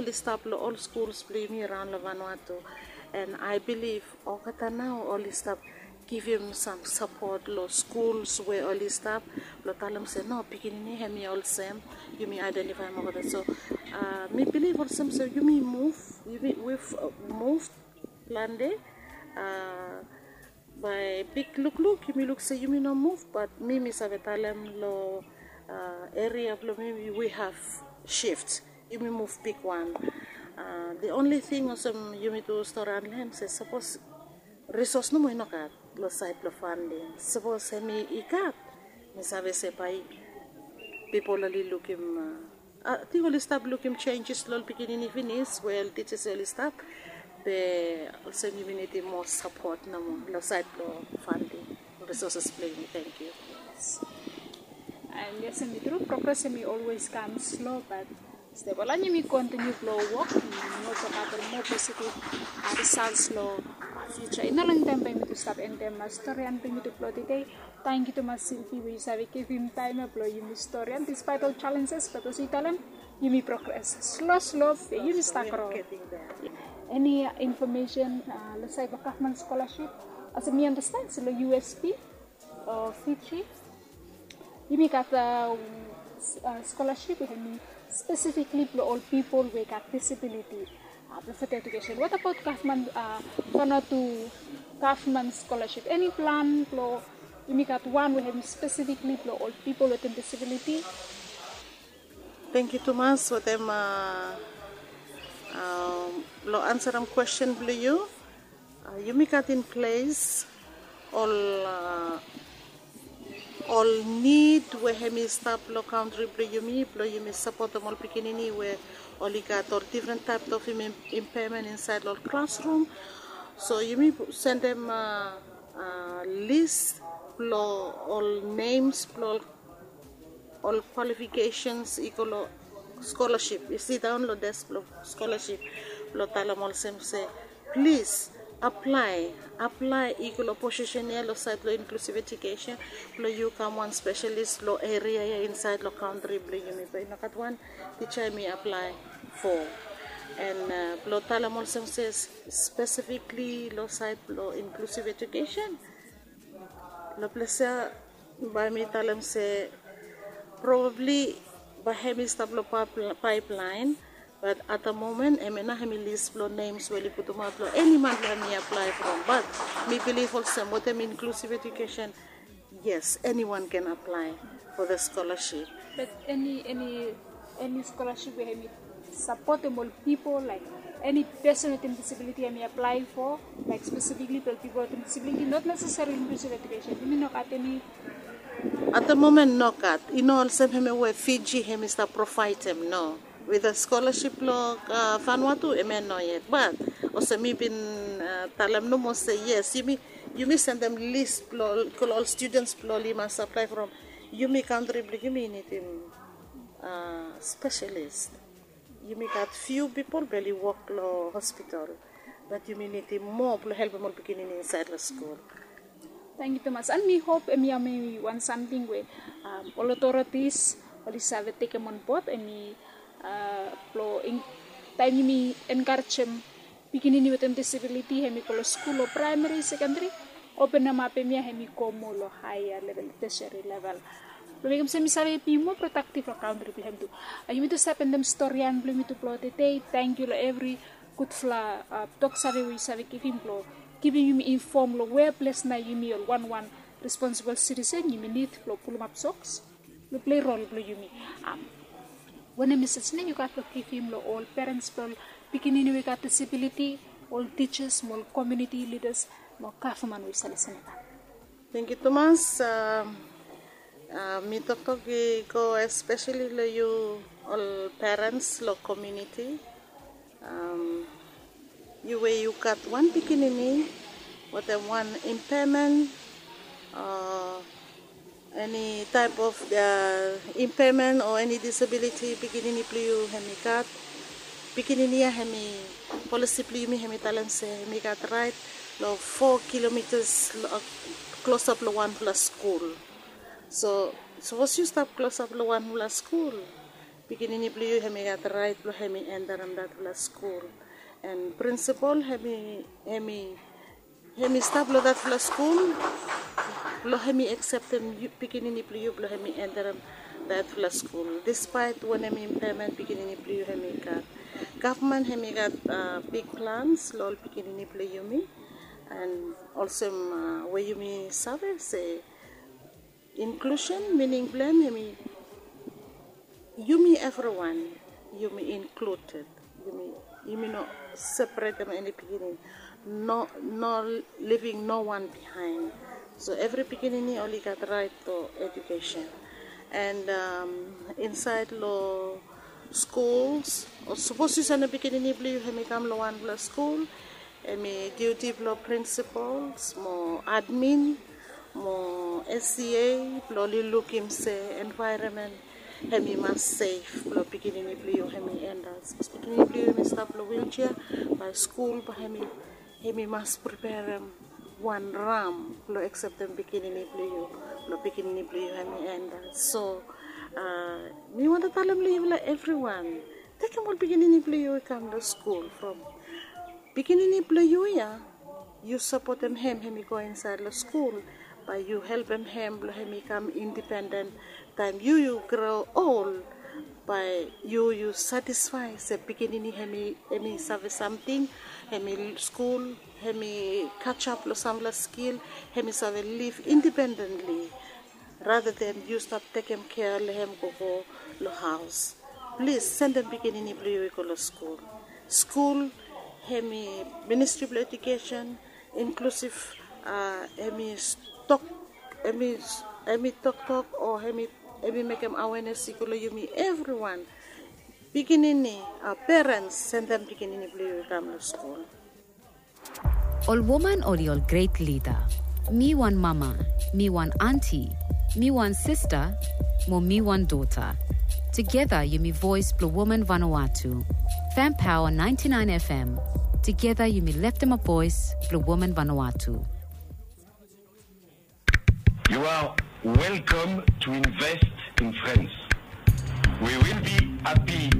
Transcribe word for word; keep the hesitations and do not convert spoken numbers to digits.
Oli stap long ol skuls blong yumi raon long Vanuatu. And I believe olgeta nao oli stap givim sam sapot long skuls we oli stap blong talem se no, pikinini hemi olsem, yumi aedentifaem olgeta. So uh, mi bilif olsem se yumi muv, yumi we've uh, muv plante. Uh, Bae big lukluk yumi luk se yumi no muv, bat mi mi save talem long uh, eria blong mi, we have shift. Yumi muv bigwan. Uh, the only thing olsem yumi tu stori long hem se sapos resource nomo i no gat long sait blong funding. Sapos hemi i gat, mi save se bae pipol oli lukim uh, Ating oli stap lukim changes long ol pikinini finis we ol teachers oli stap. Be olsem yumi nidim moa sapot nomo long sait blong funding, resources blong yumi. Thank you. And yes, hemi tru, progress hemi always kam slow, but step wan yumi continue blong wok, yumi hopim gat moa positive results long future. I no longtaem bae yumi tu stap endem storian blong yumi tu blong tede. Tangkiu tumas Silvi we yu save givim taem ya blong yumi storian despite ol challenges, bat olsem yu talem, yumi progress slo slo, be yumi stap gro. Eni infomesen long sait blong gavman scholarship? Olsem mi understand se long U S P o Fiji yumi gat scholarship we hemi specifically blong ol pipol we gat disability. Blong further education. What about gavman, Vanuatu gavman scholarship? Eni plan blong yumi gat wan we hemi specifically blong ol pipol wetem disability? Tangkiu tumas wetem long ansarem kwesten blong yu. Yumi gat in ples ol ol nid we hemi stap long kantri blong yumi blong yumi sapotem ol pikinini we oli gat ol difren taep of impairment insaed long ol klasrum. So yumi sendem lis blong ol nems blong ol kwalifikasens i go long scholarship, i sidaon long desk blong scholarship blong talem olsem se plis aplae, aplae i go long posisen ya long sait blong inklusiv ejukesen blong yu kam wan spesialis long eria ya insaed long kantri blong yumi. Be i no gat wan tija hemi aplae fo. And blong talem olsem se spesifikli long sait blong inklusiv ejukesen long ples ya bae mi talem se probabli bae hemi stap long paepelaen. Bat at the moment hemia nao hemi lis blong nems we oli putumaot blong eni man blong hemi aplae from. Bat mi bilif olsem wetem inklusiv ejukesen, yes, anyone can apply for the scholarship. Bat eni eni eni scholarship we hemi sapotem ol pipol, laik eni pesen wetem disabiliti hemi aplae fo, laik spesifikli blong ol pipol wetem disabiliti, not necessarily inklusiv ejukesen? Yumi no gat eni. At the moment no gat. I no olsem hemia we Fiji hemi stap provaedem, no. With the scholarship blong Vanuatu hemia no yet. Bat olsem mi bin talem nomo se yes, yumi yumi sendem lis blong ol studens blong oli mas aplae from yumi kantri blong yumi nidim spesialis. Yumi gat fiu pipol blong oli wok long hospital, bat yumi nidim moa blong helpem ol pikinini insaed long skul. Tangkiu tumas. And mi hop hemia hemi wan samting we ol otoritis oli save tekem onbod, hemi blong taem yumi enkarejem pikinini wetem disabiliti hemi go long skul o praemari, sekendari, openemap hemia hemi go moa long haea level, teseri level, blong mekem se hemi save bi moa prodaktiv long kantri blong hem tu. Yumi tu stap endem storian blong yumi tu blong tede. Tangkiu long evri gudfala toksave we yu save givim blong givim yumi infom long wea ples nao yumi ol wanwan responsibol sitisen yumi nid blong pulumap soks blong plei rol blong yumi. Wanem mesej nao yu gat blong givim long ol perens blong ol pikinini we gat disabiliti, ol tijas mo ol komuniti lidas mo gavman we yu save lisin long hem? Tangkiu tumas. Mi toktok i go espeseli long yu ol perens long komuniti. Yu we yu gat wan pikinini wetem wan impairment o eni taep of impairment o eni disabiliti pikinini blong yu hemi gat. Pikinini ya hemi, polisi blong yumi hemi talem se hemi gat raet long fo kilomitas klosap long wanfala skul. So sapos yu stap klosap long wanfala skul, Pikinini blong yu hem i gat rait blong hem i enterem datfala skul. An prinsipal hem i hem i hem i stap long datfala skul blong hem i akseptem pikinini blong yu blong hem i enterem datfala skul. Dispaet wanem impaemen pikinini blong yu hem i gat, gavman hem i gat big plans long ol pikinini blong yumi. An olsem we yumi save se inklusen mining blong hem hem i yumi evriwan, yumi inkluded. Yumi no separetem eni pikinini, no living no wan bihain. So evri pikinini oli gat rait long edukesen. An insaed long skuls, o sapos yu sendem pikinini blong yu hem i kam long wanpela skul, hem i diuti blong prinsipals mo admin mo sca blong oli lukim se envaeronmen hem i mas sef blong pikinini blong yu hem i endas. Bikos pikinini blong yu hem i stap long wiljea, bae skul bae hem i mas preperem wan ram blong akseptem pikinini blong yu blong pikinini blong yu hem i endas. So mi wantem talem long yufala evriwan, tekem ol pikinini blong yu i kam long skul from pikinini blong yu ya. Yu sapotem hem hem i go insaed long skul, bae yu helpem hem blong hem i kam indipenden. Taem yu yu gro ol, bae yu yu satisfae se pikinini hem i save samting, hem i skul, hem i kajap long sampela skil, hem i save liv indipendentli. Rata den yu stap tekem kea long hem gogo long haos. Plis sendem pikinini blong yu i go long skul. Skul hem i ministri blong edukesen inklusiv, hem i tok hem i toktok o hem i mekem awenes i go long yumi evriwan. Pikinini, perens, sendem pikinini blong yu i kam long skul. Ol woman oli ol gret lida. Mi wan mama, mi wan anti, mi wan sista, mo mi wan dota. Tugeta yumi voes blong woman Vanuatu. Fem Paoa naenti naen FM. Tugeta yumi leftem ap voes blong woman Vanuatu. You are welcome to invest in France. We will be happy